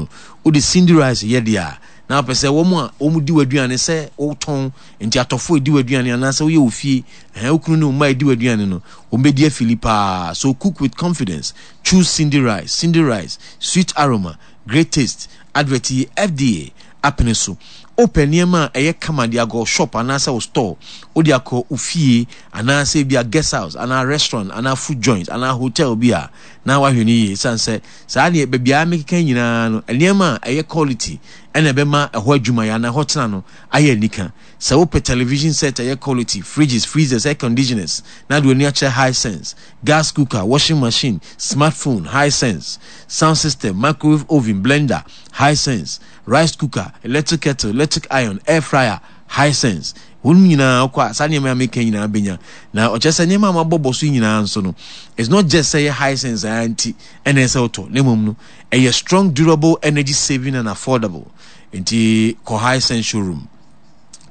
no, wode Cindy rice yɛ deɛ a, na wopɛ sɛ wɔn a wɔdi w'aduane sɛ wotɔn, nti atɔfo edi w'aduane anaasɛ woyɛ wɔ fie, ɛhɛn, wo kunu ne wo mma edi w'aduane no, wɔn bɛdi afili paa. So cook with confidence. Choose Cindy rice. Cindy rice, sweet aroma, great taste. Advert yi FDA apene so. Wopɛ nneɛma a ɛyɛ kama de akɔ shop anaasɛ wo store, wode akɔ wo fie anaasɛ ebi a guest house anaa restaurant anaa food joint anaa hotel bi a, na wahwɛ no yie. Esiane sɛ saa deɛ baabi a mekeka nyinaa no, nneɛma a ɛyɛ quality ɛna ɛbɛma ɛhɔ adwumayɛ anaa ɛhɔ tena no ayɛ anika. Sɛ wopɛ television set a ɛyɛ quality, fridges, freezers, air conditioners, na de w'ani akyerɛ Hisense, gas cooker, washing machine, smartphone, Hisense, sound system, microwave oven, blender, Hisense, rice cooker, electric kettle, electric iron, air fryer, Hisense. Wɔn nyinaa kɔ a, saa nneɛma a meka nyinaa benya. Na ɔkyerɛ sɛ nneɛma a mabɔbɔ so nyinaa nso no, it's not just sɛ ɛyɛ Hisense ara nti ɛna ɛsɛ wotɔ, na mmom no, ɛyɛ strong, durable, energy saving and affordable. Nti kɔ Hisense showroom.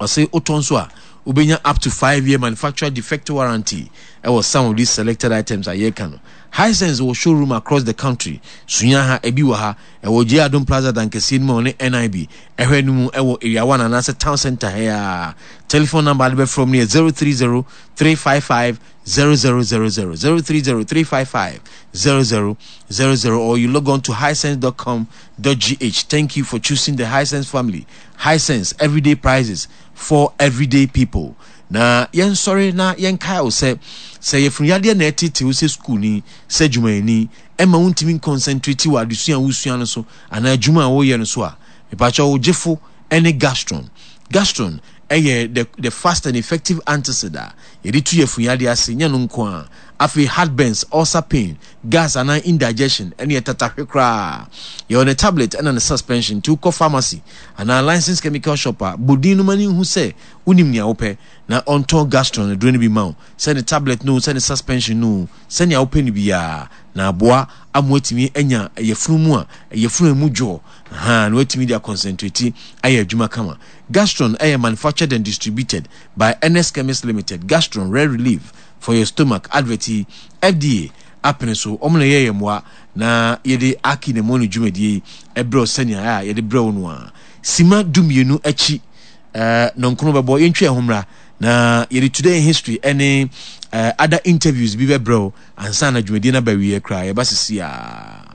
Ɔse wotɔ nso a, wobɛnya up to 5 year manufacturer defect warranty ɛwɔ some of these selected items a yɛreka no. Hisense wɔ showroom across the country. Sunya ha, ebi wɔ ha. Ɛwɔ J Adom Plaza dankɛseɛ no mu a ɔne NIB ɛhwɛ no mu ɛwɔ Area 1 anaasɛ Town Center ha yi ara. Telephone number a de bɛfrɛ mu no yɛ 030 355 0000, 030 355 0000, or you log on to hisense.com.gh. Thank you for choosing the Hisense family. Hisense, everyday prices for everyday people. Na yɛnsɔre na yɛnkae wo sɛ, sɛ yafunu yadeɛ na ɛtete wo sɛ sukuuni, sɛ adwumayɛni, ɛmma wontumi nkɔnsɛntreti wɔ adesua a wosua no so anaa adwuma a woyɛ no so a, mepakyɛw wo gyefo ne Gastron. Gastron yɛ the the fast and effective antacid a yɛde tu yafunu yadeɛ ase, nyɛ no nko ara. Afei heartburns, ulcer pain, gas anaa indigestion, ɛne ɛtatahwe koraa. Yɛwɔ ne tablet ɛna ne suspension nti wokɔ pharmacy anaa licensed chemical shop a, bɔ din no ma no nhu sɛ wonim nea wopɛ na ɔntɔn Gastron aduro no bi ma wo, sɛ ne tablet no o, sɛ ne suspension no o, sɛnea wopɛ no biara, na aboa ama woatumi anya yafunu mu a yafunu a emu dwoɔ, ahaa, na woatumi de akɔnsɛntreti ayɛ adwuma kama. Gastron yɛ manufactured and distributed by Ernest Chemist Limited. Gastron, rare relief for your stomach. Advert yi, FDA apene so, wɔn na ɛyɛ yɛn mmoa na yɛde Aki na Moni dwumadie yi brɛ wo sɛnea a yɛde brɛ wo no ara. Sima 12 akyi eh, nɔnkono bɛbɔ, yɛntwe yɛn ho mmra na yɛde Today in History ne eh, other interviews bi bɛbrɛ wo ansa na dwumadie no aba wieɛ koraa. Yɛba sisi a.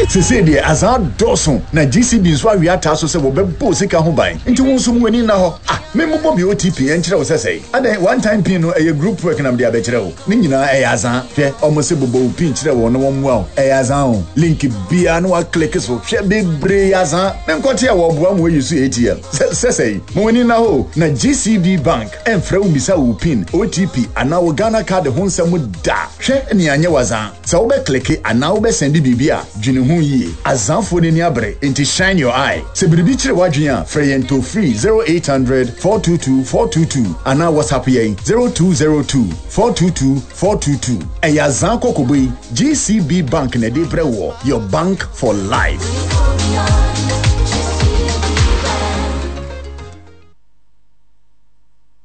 Seesei deɛ azaa dɔɔso na GCB nso awe ataa so sɛ wɔbɛbɔ wo sika ho ban nti wo nso ma w'ani nna hɔ. Ah, memmobɔ me OTP nkyerɛ wo sɛ sɛe? Adɛn, one time pin no ɛyɛ group work na mede abɛkyerɛ wo? Ne nyinaa ɛyɛ azaa. Hwɛ, wɔn se bobɔ wo pin kyerɛ wɔn na wɔmmoa wo. Ɛyɛ azaa o. Link biara na woakleke so. Hwɛ, bebree yɛ azaa. Menkɔte a wɔboa ma woayi so ATM. Sɛ, sɛ sɛe? Ma w'ani nna hɔ o. Na GCB Bank ɛmfrɛ wo mmisa wo pin, OTP anaa wo Ghana card ho nsɛm da. Hwɛ, nea anyɛ wo azaa. Sɛ wobɛkleke anaa wobɛsɛnde biribi a, dwene ho yie. Azaafoɔ no ani abere, enti shine your eye. Sɛ biribi kyere w'adwene a, frɛ yɛn toll free 0800 422 422 anaa WhatsApp yɛn 0202 422 422. Ɛyɛ Azaa kɔkɔbɔ yi, GCB Bank na ɛde rebrɛ woɔ, your bank for life.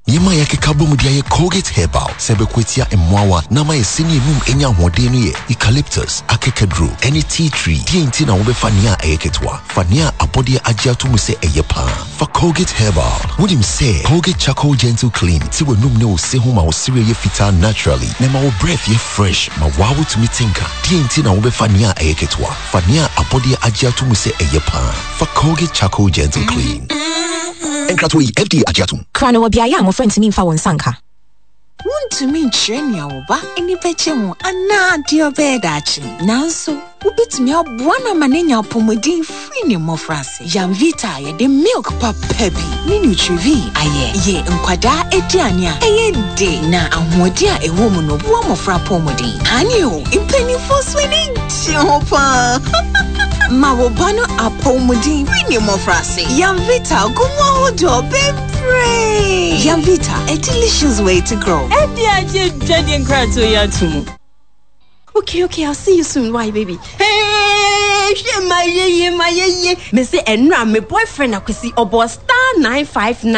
Nneɛma a yɛakeka abom de ayɛ Colgate Herbal sɛ ɛbɛko atia mmoawa na ama yɛn se ne anum anya ahoɔden no yɛ eucalyptus, akekaduro, ne tea tree. Deɛn nti na wobɛfa nea ɛyɛ ketewa? Fa nea abɔdeɛ agye ato mu sɛ ɛyɛ paa. Fa Colgate Herbal. Wonim sɛ Colgate Charcoal Gentle Clean te w'anum ne wo se ho ma wo sereɛ yɛ fitaa naturally na ɛma wo breath yɛ fresh ma waa wotumi te nka. Deɛn nti na wobɛfa nea ɛyɛ ketewa? Fa nea abɔdeɛ agye ato mu sɛ ɛyɛ paa. Fa Colgate Charcoal Gentle Clean. Nkratoɔ yi, FDA agye atom. Kra no wɔ beaeɛ a mmɔfra ntumi mfa wɔn nsa nka. Wuntumi nkyerɛ nea wo ba ani bɛgye ho anaa deɛ ɔbɛyɛ daakye, nanso wubetumi aboa no ama no anya apɔwmuden firi ne mmofraase. Yamvita a yɛde milk papa bi ne Nutrivie ayɛ yɛ nkwadaa aduane a ɛyɛ dɛ na ahoɔden a ɛwɔ mu no boa mmofra apɔwmuden. Aane o, mpanimfoɔ nso ani gye ho paa. Ma wo ba no apɔwmuden firi ne mmofraase. Yamvita gu mu ahodoɔ bebree. Yamvita, a delicious way to grow. Ɛde agye dwadie nkratoɔ yi ato mu. Okay, okay, I'll see you soon. Why, baby? Hey, hwɛ ma yeye, ma yeye. Me se ɛnura me boyfriend akwasi ɔbɔ star 959.